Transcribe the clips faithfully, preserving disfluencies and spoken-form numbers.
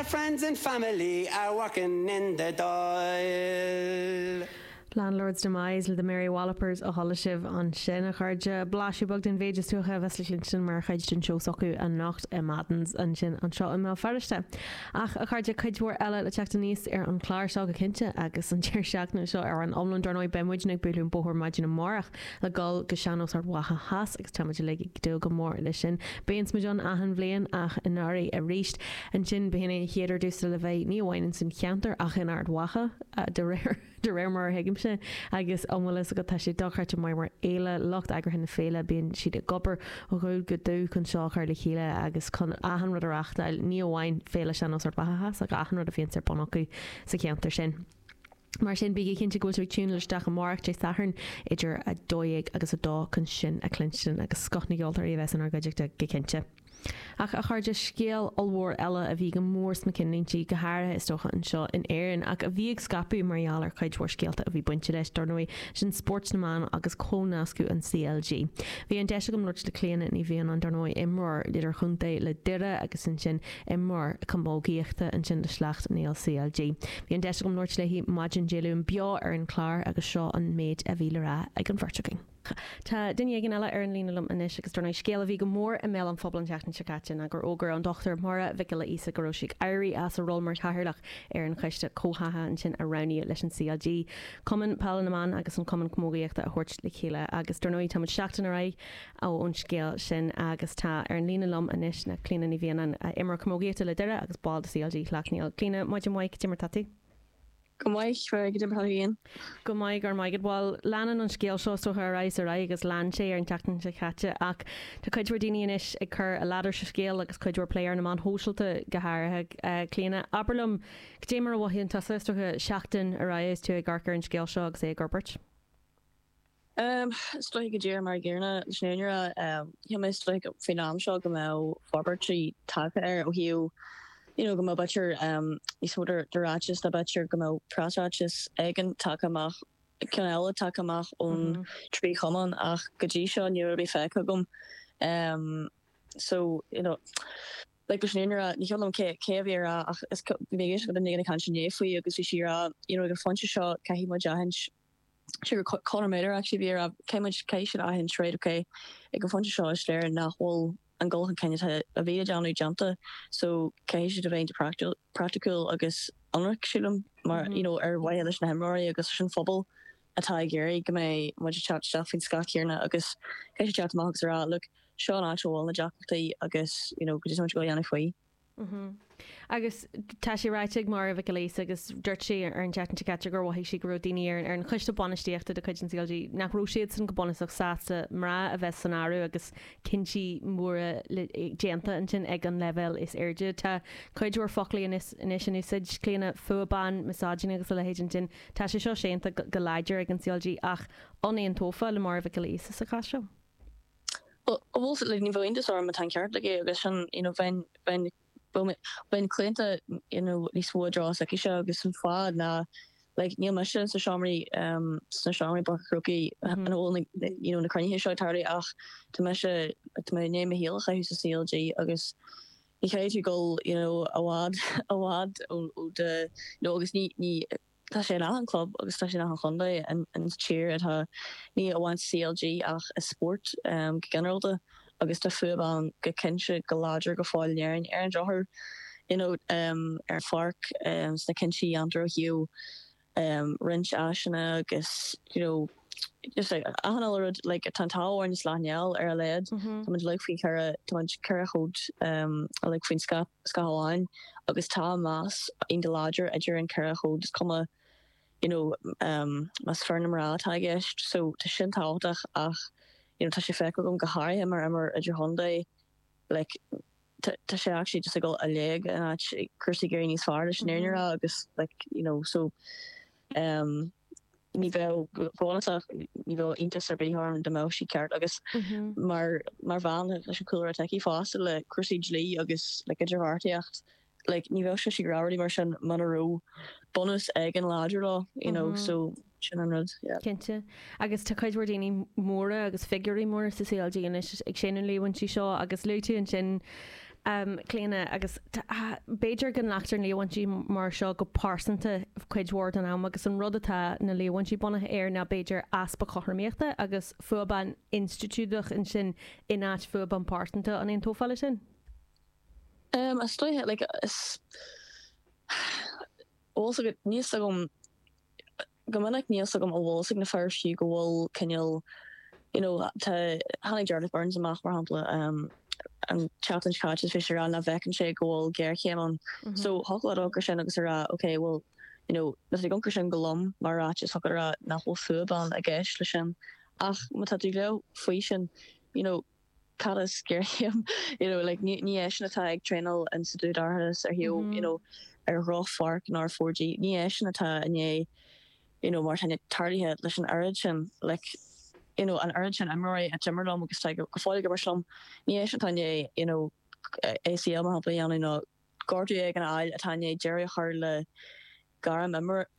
their friends and family are working in the Dáil. Landlord's Demise le the Mary Wallopers a chuala sibh ansin a chairde blaiseadh beag den mhéid is dócha a bheas le cluinstin mar chuid den seó s'acu anocht i Madden's ansin anseo i mBéal Feirste. Ach a chairde cuid mhór eile le teacht aníos ar an chlár seo go cinnte agus an deireadh seachtaine seo ar an iomlán dar ndóigh beidh muid ag bualadh an bóthar maidin amárach le dul go Sean-Nós Ard Mhacha Theas agus táimid uilig ag dúil go mór leis sin. Bíonn muid ann achan bhliain ach anuraidh arís. Ansin b'in é an chéad ardú le bheith ní amháin san cheantar ach in Ard Mhacha de réir de réir mar a thuigimse agus an bhfuil go tá sé dochreidte mar mar fhéile lucht eagraithe na féile bíonn siad ag obair ó dhubh go dubh chun seo chur le chéile agus chun achan rud a reáchtáil ní amháin féile Sean-Nós Ard Mhacha Theas ach achan rud a bhíonn ar bun acu sa cheantar sin. Mar sin bígí cinnte go bhfuil tiúnáilte isteach amárach Dé Sathairn idir a dó dhéag agus a dó chun sin a chluinstin agus scoth na gceoltóirí a bheas inár gcuideachta go cinnte. Ach a chairde scéal ollmhór eile a bhí go mór sna cinnlínti go háirithe is dócha anseo in Éirinn ach a bhí ag scaipeadh mar gheall ar chuid mhór scéalta a bhí bainte leis dar ndóigh sin spórt na mban agus cónascadh an CLG. Bhí an deis agam labhairt le Clíona Ní Mhianáin dar ndóigh imreoir idirchontae le Doire agus ansin imreoir camógaíochta ansin le Sleacht Néill CLG. Bhí an deis agam labhairt léi maidin Dé Luain beo ar an chlár agus seo an méid a bhí le rá ag an bheirt againn. Tá duine éigin eile ar an líne liom anois agus dar ndóigh scéal a bhí go mór i mbéal an phobail an tseachtain seo caite ná gur fhógair an Dr. Máire Mhic Giolla Íosa go raibh sí ag éirí as a ról mar chathaoirleach ar an choiste comhtháthaithe ansin a roghnaíodh leis an CLG. Cumann Peile na mBan agus an Cumann Camógaíochta a thabhairt le chéile agus dar ndóigh táimid seachtain ar aghaidh ón scéal sin agus tá ar an líne liom anois ná Clíona Ní Mhianáin imreoir camógaíochta le Doire agus ball de CLG Shleacht Néill. Clíona maidin mhaith cad é mar atá tú? Go maith go dtim Go maith gur maigad bhil leanann an scéal seo so ar aghaidh ar aghaidh agus lean sé ar an tseachtain seo caite ach tá cuid mhór daoine anois ag cur a ladar sa scéal agus cuid mhór plé ar na meáin shóisialta go háirithe uh, Clíona. Abair liom cad é mar a mhothaíonn tusa is dócha seachtain ar aghaidh is tú ag amharc ar an scéal seo agus é ag forbairt. Um, is dóigh go dtír mar ggéarna leis an mé faoin am seo go mbeadh forbairtí tagtha air ó thaobh you know, go mbeadh b'fhéidir um, níos mó de ráiteas tá b'fhéidir go mbeadh preasráiteas éigin tagtha amach ceann eile tagtha amach ón mm -hmm. trí chumann ach go dtí seo ní raibh feicthe agam um, so you know, like leis an ní chelam cé cé bhí rá ach is bhí go na kan sin faoi agus bhí sí rá you know, gur phointe seo caithfidh muid aithint Sí Conor Maider actually bhí rá céim cé sin aithint right okay ag an phointe seo is léir nach bhfuil an dul chun cinn a bhí déanamh déanta so caithfidh siad a bheith praiticiúil agus ionraic sílim mar mm -hmm. you know, ar mhaithe leis na himreoirí agus sin phobal atá ag iarraidh go mbeidh muid teacht isteach faoin scáth céanna agus caithfidh siad amach agus rá look seo an áit bhfuil na deacrachtaí agus you know, go dtí go dhéanamh faoi. Mm -hmm. Agus tá sé ráite ag Máire Mhic Giolla Íosa agus dúirt sí ar an tseachtain seo caite gur mhothaigh sí go raibh daoine ar ar an choiste bainistíochta de chuid an CLG nach raibh siad san go bunúsach sásta mná a bheith san áireamh agus cinntí móra déanta ansin ag an leibhéal is airde Tá cuid mhór foclaí anois in úsáid Clíona fuath ban misogyny agus a leithéid ansin Tá sé seo séanta go láidir ag an CLG ach an aontófá le Máire Mhic Giolla Íosa sa chás seo. Bhfuil le ní bhhaon orm atá ceart le agus sin you know, bheinn bheinn bheinn claonta you know, níos mó dra aici seo agus an fáth ná like, níl mise sa seomraí um, sna seomraí crocaí an bhfuil you know, na cruinnithe seo tarlú ach tá mise tá mé né me héalacha sa CLG agus ní chaithfidh tú dul you know, i bhfad i bhfad ó de you know, agus ní ní tá sé in achan club agus tá sé in achan chontae an an tír atá ní amháin CLG ach i spórt um, go ginearálta agus tá fuath ban go cinnte go láidir go fóill in Éirinn ar an drochuair you know, um, ar pháirc um, sna cinntí a dhéantar ó thaobh um, roinnt áiseanna agus you know, just like achan rud like tá táhain sláneall ar a lead Tá muid like faoi ceithre tá ceithre chód um, like faoin scáth amháin agus tá meas iontach láidir idir an ceithre chód is cuma you know, um, más fear nó mná atá i gceist so tá sin tábhachtach ach you know, tá sé feicthe agam go háirithe mar imreoir idirchontae like tá sé actually just ag dul i léig in áit cúrsaí ag éirí níos fearr leis an mm agus like you know so um ní bheadh bónasach ní bheadh iontas ar bith orm dá mbeadh sí ceart agus mar mar bhean leis an cúlra atá aici fosta le cúrsaí dlí agus le idirbheartaíocht like ní bheadh sé sí ráirí mar sin mura raibh bunús ag an láidir leo you know mm -hmm. so sin an rud yeah. Cinnte agus tá cuid mhór daoine móra agus figiúirí móra sa CLG anois ag séanadh líomhaintí seo agus luaigh tú ansin Um, Clíona agus b'fhéidir go nglactar líomhaintí mar seo go pearsanta cuid mhór den am agus an rud atá na líomhaintí bunaithe air ná b'fhéidir easpa cothromaíochta agus fuath ban institiúideach ansin in áit fuath ban pearsanta an aontófá leis sin? Um, is dóiche like is also níos agam go minic níos agam a bhfuil ag na fir fiú go bhfuil cineál you know tá tháinig Jarlath Burns amach mar shampla um, an tseachtain seo caite bhí sé rá nach bhfeiceann sé go bhfuil géarchéim ann. Mm -hmm. So thiocfadh leat sin agus a rá okay well you know na gongur sin go lom mar ráit is thiocfadh rá nach bhfuil fuath ban i gceist le sin ach má tá tú le faoi sin you know cad is géarchéim you know like ní ní é sin atá ag traenáil in sa dúdarthas ar hiú mm -hmm. you know ar drochpháirc ná four G ní é sin atá inné you know mar sin tarlaithe leis an oiread sin like you know an oiread sin imreoirí a d'imir liom agus go fóill ag imirt liom ní é sin atá inné you know A C L mar shampla dhéanamh nó gortú ag an áil atá inné deireadh a chur le gairm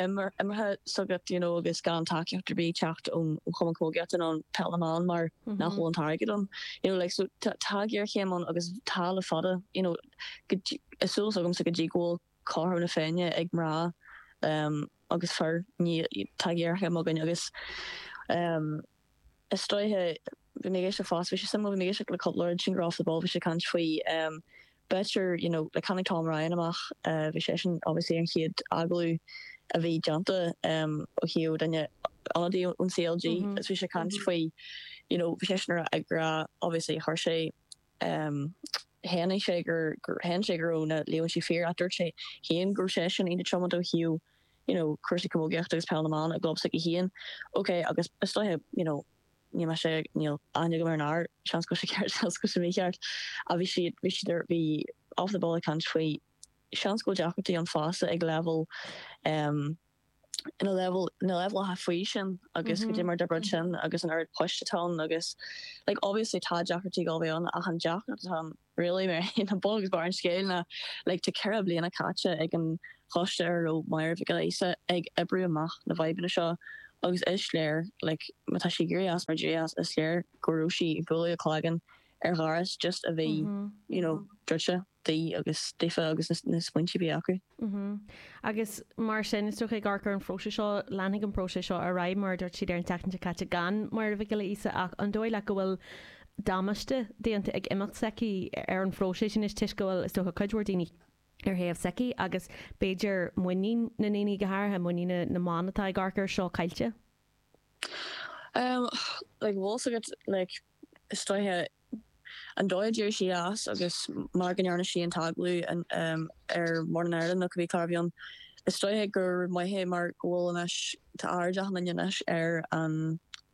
imeartha s'agat you know agus gan tacaíocht ar bith teacht ón Chumann Camógaíochta nó peil na mban mar nach bhfuil an t-airgead ann you know like so tá géarchéim ann agus tá le fada you know is súil agamsa go dtí go bhfuil cothrom na Féinne ag mná um, agus fir ní tá géarchéim againn agus um, is dóiche bhí mé ag fás bhí sé sim bhí mé le cúpla sin off the ball bhí sé caint faoi um, better you know le tháinig Tom Ryan amach uh, bhí sé sin obviously an chéad agallamh a bhí déanta um, ó thaobh duine ionadaí ón C L G mm -hmm. is bhí sé caint faoi you know bhí sé sin ag rá obviously chuir sé um, shéan sé gur gur shéan sé go raibh na líomhaintí fíor a dúirt sé féin gur sé sin ina tiomanta ó thaobh you know cúrsaí camógaíochta agus peil na mban a gclub s'aige féin okay agus is dóiche you know ní me sé níl aithne agam ar an fhear seans go sé ceart seans go sé mícheart a bhí siad bhí siad bhí off the ball ag caint faoi seans go deacrachtaí an fása ag level um, ina level na level ha faoi sin agus go mar de sin agus an oiread poist atá agus like obviously tá deacrachtaí go bhí an ach an deacracht atá really mar na bog bar an scéil na like tá ceithre bliana caite ag an choiste ar ó Máire Mhic Giolla Íosa ag oibriú amach na fadhbanna seo agus is léir like má tá sí éirithe as mar as is léir go raibh sí ag bualadh a cloigeann ar dhoras just a bhí mm -hmm. you know druidte di agus daofa agus na smaointe bhí acu. Mm -hmm. Agus mar sin is dócha gur an phróiseas seo leanfaidh an próiseas seo ar aghaidh mar dúirt siad ar an tseachtain caite gan Máire Mhic Giolla Íosa ach an dóigh leat go bhfuil damáiste déanta ag imeacht s'aici ar an phróiseas sin is toisc go bhfuil is dócha cuid mhór daoine ar thaobh s'aici agus b'fhéidir muinín na ndaoine go háirithe muinín na mban atá ag amharc air seo caillte. Um, like bhfuil like is dóiche an dóigh d'éirigh sí as agus mar go ndearna sí an t-agallamh um, ar Morning Ireland nó cibé clár a bhí ann. Is dóiche gur maith mar go bhfuil anois tá aird achan duine anois ar an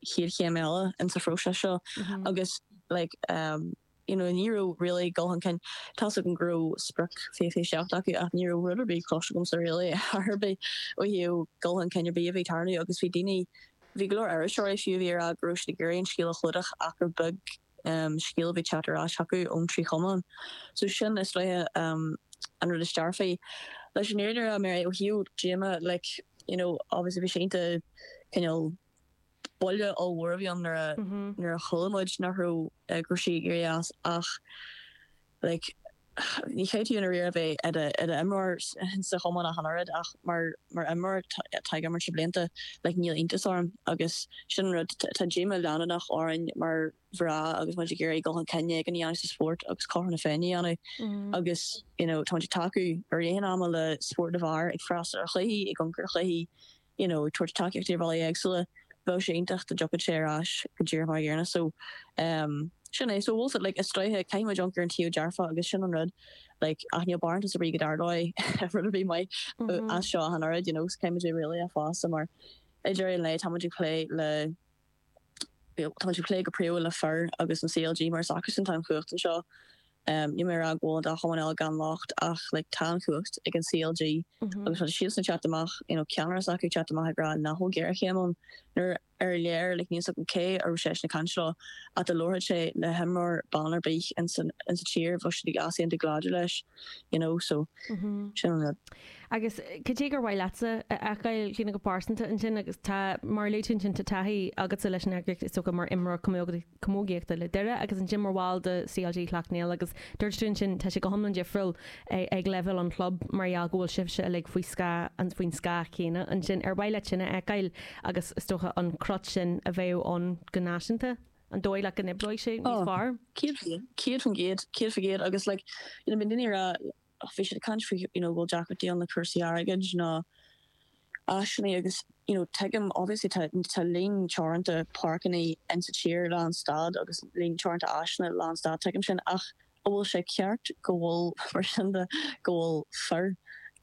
chéad chéim eile in sa phróiseas seo mm -hmm. agus like um, you know ní raibh really dul chun cinn tá an go raibh sprioc fiche fiche seacht acu ach ní raibh rud ar bith cloiste agamsa really ar bith ó thaobh dul chun cinn ar bith a bhí ag tarlú agus bhí daoine bhí go leor iriseoirí fiú bhí rá go raibh siad ag iarraidh an scéal a chlúdach ach gur beag um, scéal bhí teacht ar ais acu ón trí chumann. So sin is dóiche um, an rud is dearfaí. Leis an fhírinne mar ó thaobh díomá like you know obviously bhí sé iontach cineál buille ollmhór a bhí ann nuair a mhm. nuair a chuala muid nach raibh go raibh sí ag éirí as ach like ní chaithfidh tú an riar bheith i d'imreoir sa chumann a hanrad ach mar mar imreoir atá ag imirt le blianta like níl iontas orm agus sin rud tá díomá leanúnach orainn mar mhná agus muid ag iarraidh dul chun cinn ag an dhéanamh sa spórt agus cothrom na Féinne a dhéanamh agus you know tá muid ag tacú ar aon ama le spórt na bhfear ag freastal ar chluichí ag amharc ar chluichí you know tabhairt tacaíocht ar bhealaí éagsúla bheadh sé iontach dá dtiocfadh sé ar ais go díreach mar gcéanna so um, sin é so bhfuil like is dóiche caithfidh muid amharc ar an taobh dearfa agus sin an rud like ach níl barántas ar bith go dtarlóidh rud ar bith maith as seo an oiread you know caithfidh muid really a fása mar idir an le tá muid ag plé le tá muid ag plé go príomha le fir agus an C L G mar is acusan atá an chumhacht anseo. Um, ní mé rá go bhfuil an dá chumann eile gan locht ach like, tá an chumhacht ag an C L G agus tá siad teacht amach you know, ceannaire acu teacht amach ag rá nach bhfuil géarchéim ann nuair ar léir like níl a fhios agam cé a raibh seisean ag caint leo ach dá labharfadh sé le himreoir ban ar bith in san in sa tír bheadh siad ag easaontú go láidir leis you know so sin an rud. Agus cad é gur mhaith leatsa a fheiceáil Clíona go pearsanta ansin agus tá mar luaigh tú ansin tá taithí agatsa leis an eagraíocht is dócha mar imreoir camógaíochta le Doire agus ansin mar bhall de CLG Shleacht Néill agus dúirt tú ansin tá sé go hiomlán difriúil ag leibhéal an chlub mar gheall go bhfuil sibhse uilig faoi scáth an faoin scáth chéanna ansin ar mhaith leat sin a fheiceáil agus is dócha an crot sin a bheadh ann go náisiúnta an dóigh leat go n-oibreoidh sé níos fearr? Céad céad faoin gcéad céad faoin gcéad agus like you know bíonn daoine ag rá bhí siad ag caint faoi you know bhfuil deacrachtaí ann le cúrsaí airgid nó áiseanna agus you know tuigim obviously tá tá líon teoranta páirceanna in sa tír lánstad agus líon teoranta áiseanna lánstad tuigim sin ach an bhfuil sé ceart go bhfuil mar sin de go bhfuil fir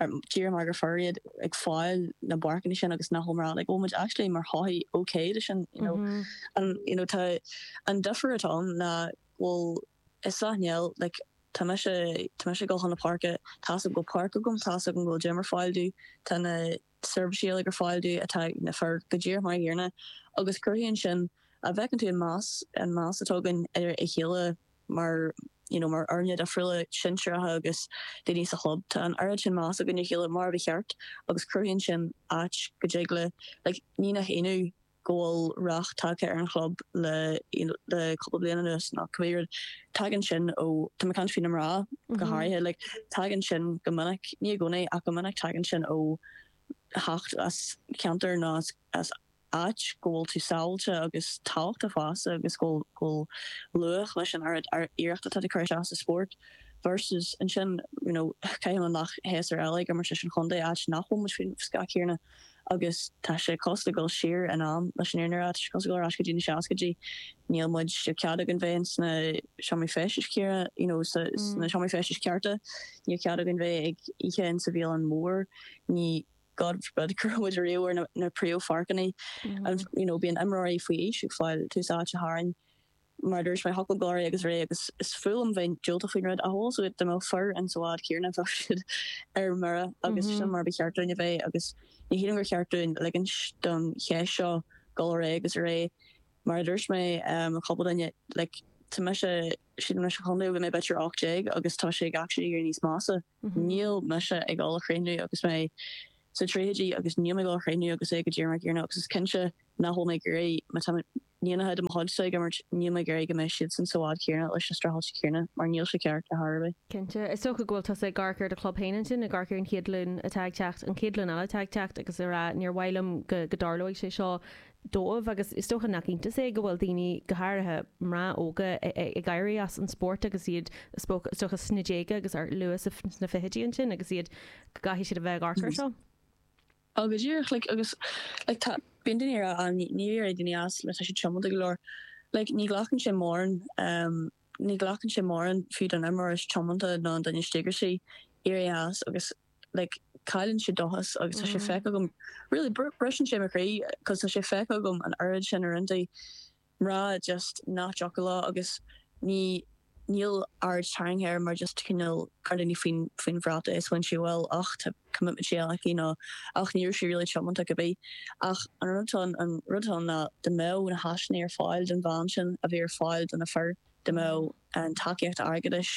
díreach mar gur fir iad ag fáil na bpáirceanna sin agus nach bhfuil mná like bhfuil muid actually mar shochaí okay de sin you know an you know tá an difear atá ann ná go bhfuil i Sleacht Néill like tá mise tá mise ag dul chun na páirce tá a fhios agam go bhfuil páirc agam tá a fhios agam go bhfuil gym ar fáil domh tá na seirbhísí uilig ar fáil domh atá ag na fir go díreach mar an gcéanna agus cruthaíonn sin a bhfeiceann tú an meas an meas atá againn ar a chéile mar you know mar fhoirne difriúla sinsearacha agus daoine sa chlub tá an oiread sin meas againn ar a chéile mar ba cheart agus cruthaíonn sin áit go dtig le like ní nach ionadh go bhfuil rath tagtha ar an chlub le you know le cúpla bliain anuas nó cibé rud tagann sin ó tá mé ag caint faoi na mná go háirithe like tagann sin go minic ní i gcónaí ach go minic tagann sin ó theacht as ceantar nó as as áit go bhfuil tú sábháilte agus tábhachtach fosta agus go bhfuil go bhfuil luach leis an oiread iarracht atá tú ag cur isteach sa spórt versus ansin you know caithfidh an séasúr eile ag imirt leis an chontae áit nach bhfuil muid faoin scáth céanna agus tá sé cosúil le dul siar in am leis an fhírinne a rá tá sé cosúil le dul ar ais go dtí na seascaidí níl muid cead againn bheith sna seomraí feistis céanna you know sa sna seomraí feistis cearta níl cead againn bheith ag ithe in sa bhialann mór ní God forbid go raibh muid riamh ar na na príomhpháirceanna and you know bíonn imreoirí faoi aois ag fáil tús áite tharainn mar a dúirt mé thiocfadh dul ar aghaidh agus ar aghaidh agus is fuath liom bheith diúltach faoin rud ach also dá mbeadh fir in sa bhád céanna bheadh siad ar mire agus sin mar ba cheart dúinn a bheith agus ní shílim gur cheart dúinn ligint don cheist seo dul ar aghaidh agus ar aghaidh mar a dúirt mé um cúpla duine like tá mise sílim leis an chontae ó bhí mé b'fhéidir ocht déag agus tá sé ag actually éirí níos measa. Níl mise ag dul a chríochnú agus mé sa tríochaidí agus níl mé ag dul a chríochnú agus é go díreach mar gcéanna agus is cinnte nach bhfuil mé ag iarraidh má tá níonacha de mo chuidse ag imirt níl mé ag iarraidh go mbeidh siadsan sa bhád céanna leis na streachailtí céanna mar níl sé ceart ar chor ar bith. Cinnte. Is dócha go bhfuil tusa ag amharc ar do chlub féin ansin, ag amharc ar an chéad ghlúin atá ag teacht, an chéad ghlúin eile atá ag teacht agus ag rá níor mhaith liom go go dtarlóidh sé seo dóibh agus is dócha nach iontas é go bhfuil daoine, go háirithe mná óga, ag éirí as an spórt agus iad is dócha sna déaga agus ar luath sna fichidí ansin agus iad go gcaithfidh siad a bheith ag amharc air seo. Ó go díreach like agus like tá bíonn daoine ag rá ah ní ní éireoidh daoine as mar tá siad tiomanta go leor. Like ní ghlacann sé mórán um ní ghlacann sé mórán fiú don imreoir is tiomanta nó an duine is díograisí éirí as agus like cailleann siad dóchas agus tá sé feicthe agam really briseann sé mo chroí cos tá sé feicthe agam an oiread sin uaireanta mná just nach dtiocfadh leo agus ní níl aird tarraingthe air mar just cineál cuireann daoine faoin faoin bhrat é is bhain sí bhuel ach tá commitment sí aici nó ach ní raibh sí really tiomanta cibé ach an rud atá an rud atá ann ná dá mbeadh na háiseanna ar fáil don bhean sin a bhí ar fáil do na fir dá mbeadh an tacaíocht airgeadais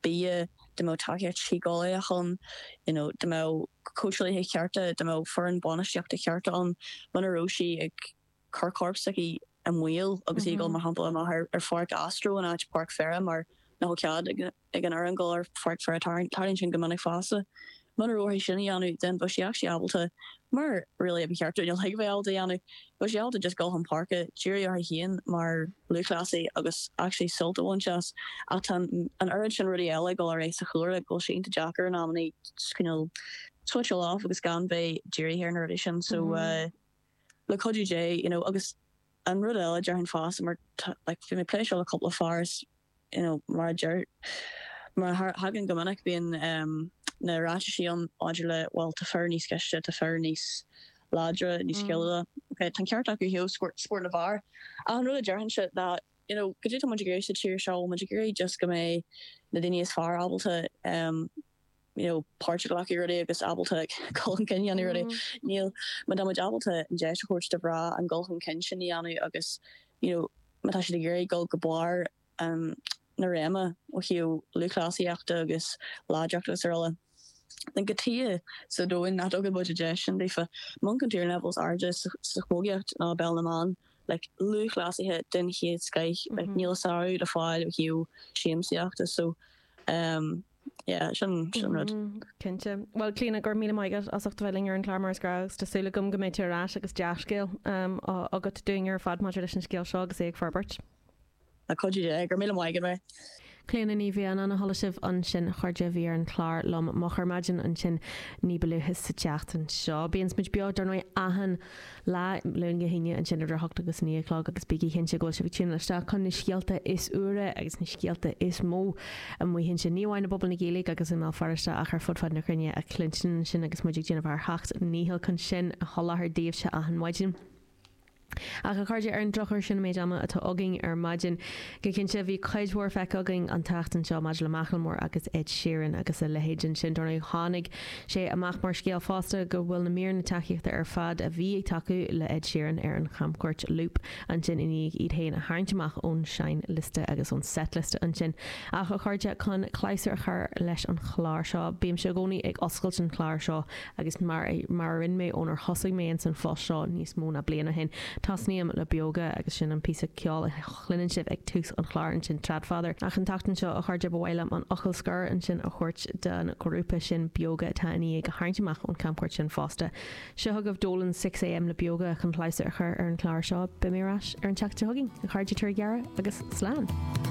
bia, dá mbeadh tacaíocht shíceolaíoch ann, you know, dá mbeadh cóitseálaithe cearta, dá mbeadh foireann bainistíochta cearta ann, muna raibh sí ag cur corp s'aici i mbaol agus í ag dul, mar shampla, amach ar ar pháirc Astro in áit páirc pheire mar nach bhfuil cead ag ag an fhoireann dul ar pháirc pheire, tarlaíonn sin go minic fosta. Muna raibh uirthi sin a dhéanamh, then bheadh sí actually ábalta, mar really ba cheart dúinn uilig a bheith ábalta a dhéanamh, bheadh sí ábalta just dul chun páirce, díriú uirthi féin mar lúthchleasaí agus actually sult a bhaint as. Ach tá an oiread sin rudaí eile ag dul ar aghaidh sa chúlra go bhfuil sé iontach deacair in amannaí just cineál switcháil off agus gan bheith dírithe ar na rudaí sin. So le cuidiú Dé, you know, agus an rud eile déarfainn fosta mar tá like bhí mé ag plé seo le cúpla fear is you know mar a deir mar a thagann go minic bíonn um na ráitisí ann maidir le bhuel tá fir níos cliste, tá fir níos láidre, níos sciliúla. Ok, tá an ceart acu ó thaobh spórt na bhfear. Ach an rud a déarfainnse ná you know cad é atá muid ag iarraidh sa tír seo, bhfuil muid ag iarraidh just go mbeidh na daoine is fearr ábalta um you know páirt a ghlacadh i rudaí agus ábalta like, dul chun cinn a dhéanamh rudaí níl má tá muid ábalta an deis a thabhairt do mhná an dul chun cinn sin a dhéanamh agus you know má tá siad ag iarraidh dul go barr um, na réime ó thaobh lúthchleasaíochta agus láidreachta agus araile. Then cad chuige sa domhan nach dtugann muid an deis sin daofa amharc ar na levels airde sa sa chamógaíocht ná peil na mban like lúthchleasaithe den chéad scoth like níl a sárú le fáil ó thaobh siamsaíochta so um, yeah sin sin rud. Cinnte. Well Clíona go raibh míle maith agat as ucht a bheith linn ar an chlár mar is gnách agus tá súil agam go mbeidh tú ar ais agus dea-scéal um, agat dúinn ar fad maidir leis an scéal seo agus é ag forbairt. Le cuidiú Dé go raibh míle maith agat mé. Clíona Ní Mhianáin a chuala sibh ansin a chairde a bhí ar an chlár liom moch ar maidin ansin ní ba luaithe sa tseachtain seo. Bíonn muid beo dar ndóigh achan lá Luan go hAoine ansin idir a hocht agus naoi a chlog agus bígí cinnte go bhfuil sibh ag tiúnáil isteach chun na scéalta is úire agus na scéalta is mó amuigh ansin ní amháin i bpobal na Gaeilge agus i mBéal Feirste ach ar fud fad na cruinne a chluinstin ansin agus muid ag déanamh ár seacht ndícheall chun sin a sholáthar daoibhse achan maidin. Ach a chairde ar an drochuair sin an méid ama atá againn ar maidin. Go cinnte bhí cuid mhór feicthe againn an tseachtain seo maidir le Macklemore agus Ed Sheeran agus a leithéid ansin dar ndóigh tháinig sé amach mar scéal fosta go bhfuil na míreanna tacaíochta ar fad a bhí ag tacú le Ed Sheeran ar an chamcuairt Loop ansin i ndiaidh iad féin a tharraingt amach ón seinnliosta agus ón setlist ansin. Ach a chairde chun clabhsúr a chur leis an chlár seo, bímse i gcónaí ag oscailt an chlár seo agus mar mar a rinne mé ónar thosaigh mé in san phost seo níos mó ná bliain ó shin. Tosnaím le Beoga agus sin an píosa ceoil a chluineann sibh ag tús an chláir ansin Tradfather. Ach an tseachtain seo a chairde ba mhaith liom an fhocal scoir ansin a thabhairt don ghrúpa sin Beoga atá i ndiaidh a tharraingt amach ón chamcuairt sin fosta. Seo chugaibh Dolan six A M le Beoga chun clabhsúr a chur ar an chlár seo. Beidh mé ar ais ar an tseachtain seo chugainn, a chairde tar gearra agus slán.